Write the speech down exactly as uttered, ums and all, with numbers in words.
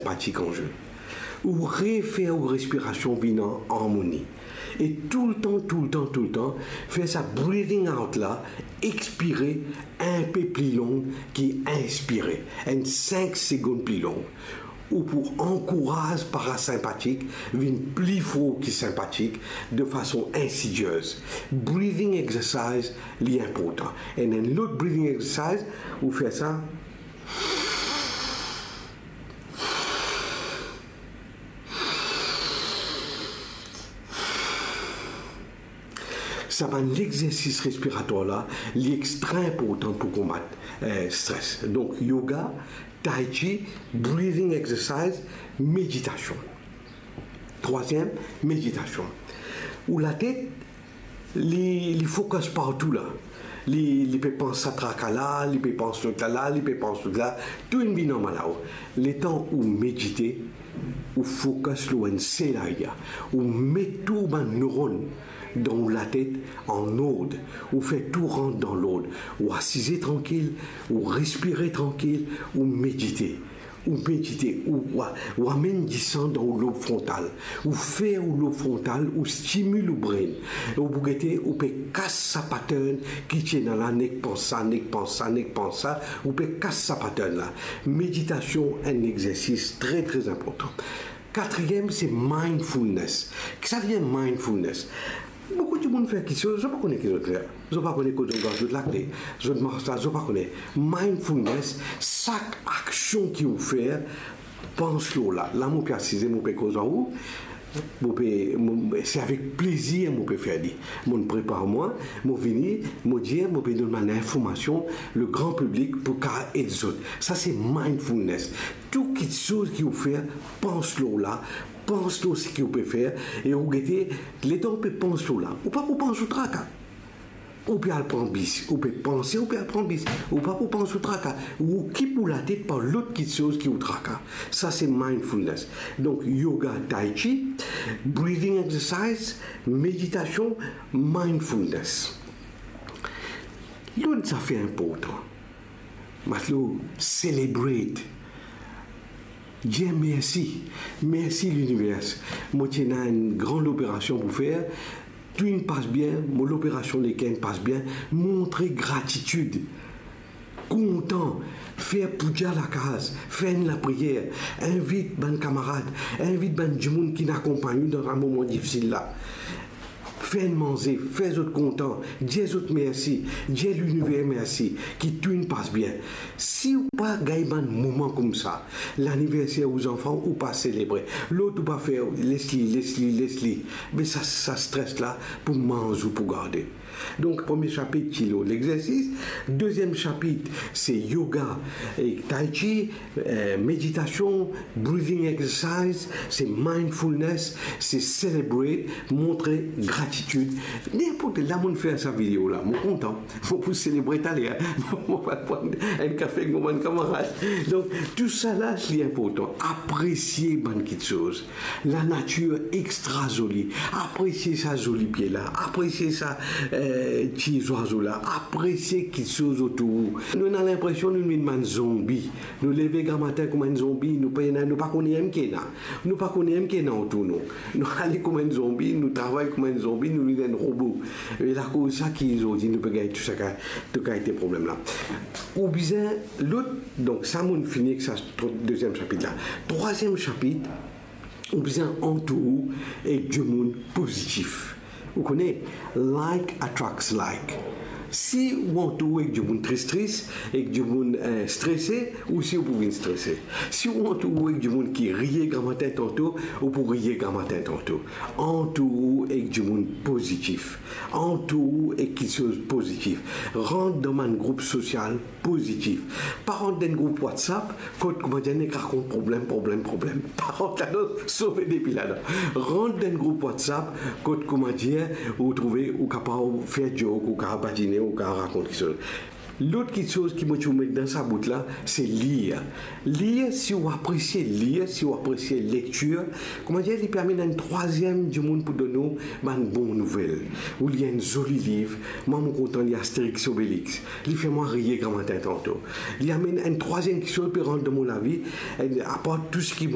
senpatik an zwe. Ou refer ou respirasion vinn an armoni. E toultan, toultan, toultan, fer sa breathing out la, expire inpe pli long ki inspire, enn sink segonn pli long. Ou pou ankouraz parasenpatik vinn pli for ki senpatik de fason insidiez. Breathing exercise, li inportan. And enn lot breathing exercise, ou fer sa. Sa bann lexersis respiratwar la, li extra inportan pou konbat, eh, stres. Donk, yoga, tai chi, breathing exercise, meditasion. Trwaziem, meditasion. Ou latet, li, li focus partou la. Li, li pe pans sa traka la, li pe pans lot la la, li pe pans lot la. Tou inn vinn anba lao. Letan ou medite, ou focus lor enn sel area. Ou met tou bann neuronn dan ou latet an ord. Ou fer tou rant dan lord. Ou asize trankil, ou respire trankil, ou medite. Ou medite, ou, ou, ou amenn disan dan ou lob frontal. Ou fer ou lob frontal, ou stimil ou brain. Ou pou gete, ou pe kas sa pattern ki ti ena la, nek pans sa, nek pans sa, nek pans sa, ou pe kas sa pattern la. Meditasion, enn exersis tre, tre inportan. Katriem, se mindfulness. Ki sa vinn mindfulness? Boukou dimoun fer kiksoz, zot pa kone ki zot fer. Zot pa kone kot zot gard zot lakle, zot mars la, zot pa kone. Mindfulness, sak aksion ki ou fer, pans lor la. La, mo pe asize, mo pe koz ar ou, mo pe, mo, se avek plezir mo pe fer li. Mo prepar mwa, mo vini, mo dir, mo pe donn bann informasion, le gran piblik pou kapav ed zot. Sa se mindfulness. Tou kiksoz ki ou fer, pans lor la, pans lor seki ou pe fer, e ou gete, letan ou pe pans lor la, ou pa pou pans ou traka. Ou pe al pran bis, ou pe panse, ou pe al pran bis, ou pa pou pans ou traka. Ou okip ou latet par lot kiksoz ki ou traka. Sa se mindfulness. Donk, yoga, tai chi, breathing exercise, meditasion, mindfulness. Lot zafer inportan, Matlo, celebrate. Dir mersi. Mersi liniver. Mo ti ena enn gran loperasion pou fer. Tou inn pas bien, mo loperasion leker inn pas bien. Montre gratitid. Kontan. Fer poudya lakaz. Fer enn lapriyer. Invit bann kamarad. Invit bann dimoun ki inn akonpagn ou dan sa moman difisil la. Fer enn manze, fer zot kontan, dir zot mersi, dir liniver mersi, ki tou inn pas bien. Si ou pa gagn bann moman koumsa, laniverser ou zanfan, ou pa selebre, lot ou pa fer, les li, les li, les li. Me sa, sa stres la pou manz ou pou garde. Donk, premie sapit ti lor lexersis, deziem sapit, se yoga ek tai chi, eh, meditasion, breathing exercise, se mindfulness, se celebrate, montre gratitid. Ninport la, mo fer sa video la, mo kontan, mo pou selebre taler, mo pa pran enn kafe ek mo bann kamarad. Donk, tou sa la, li inportan. Apresie bann kiksoz. Lanatir extra zoli. Apresie sa zoli pie la. Apresie sa, eh, ti zwazo la. Apresie kiksoz otour ou. Nou ena linpresion nou vinn bann zonbi. Nou leve gramatin kouma enn zonbi. Nou pa ena, nou pa kone enn ki ena. Nou pa kone enn ki ena otour nou. Nou ale kouma enn zonbi, nou travay kouma enn zonbi, nou vinn enn robo. E lakoz sa ki zordi nou pe gagn tou sa ka, tou kalite problem la. Ou bizin lot, donk sa mo fini ek sa, tro-, deziem sapit la. Trwaziem sapit, ou bizin antour ou ek dimoun pozitif. Ou kone, like attracts like. Si ou antour ou ek dimoun tris tris, ek dimoun, eh, strese, ou si ou pou vinn strese. Si ou antour ou ek dimoun ki riye gramatin tanto, ou pou riye gramatin tanto. Antour ou ek dimoun pozitif. Antour ou ek kiksoz pozitif. Rant dan bann group sosial pozitif. Pa rant dan enn group WhatsApp kot, koumadir, nek rakont problem, problem, problem. Pa rant ladan, sove depi ladan. Rant dan enn group WhatsApp kot, koumadir, ou trouve ou kapav fer joke, ou kapav badine, ou kapav rakont kiksoz. Lot kiksoz ki mo ti pou met dan sa bout la, se lir. Lir, si ou apresie lir, si ou apresie lektir, koumadir, li pe amenn enn trwaziem dimoun pou donn ou bann bon nouvel. Ou lir enn zoli liv, mwa mo kontan lir Astérix Obélix. Li fer mwa riye gramatin tanto. Li amenn enn trwaziem kiksoz pe rant dan mo lavi, enn, apar tou seki mo